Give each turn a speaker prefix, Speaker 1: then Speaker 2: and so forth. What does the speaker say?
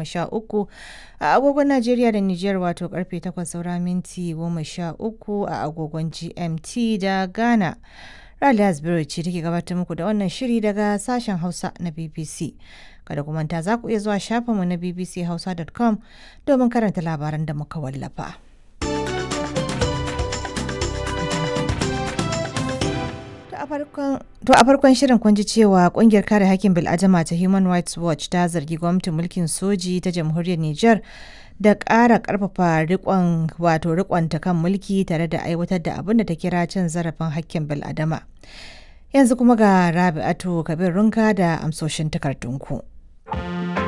Speaker 1: 13 a agogon Najeriya da Nijar, wato karfe 8 saura minti 13 a agogon GMT da Ghana. Raliya Asbiru ce take gabatar muku da wannan shiri daga sashen Hausa na BBC. Kada ku manta, za ku iya zuwa shafinmu na bbchausa.com domin karanta labaran da muka wallafa. To a farkon shirin kun ji cewa kungiyar kare hakkin bil'adama ta Human Rights Watch ta zargi gwamnatin mulkin soji ta jamhuriyar Nijar da ƙara ƙarfafa rikon, wato rikonta kan mulki, tare da aiwatar da abin da ta kira cin zarafin hakkin bil'adama. Yanzu kuma ga Rabi'atu Kabir Runka da amsoshin takardunku.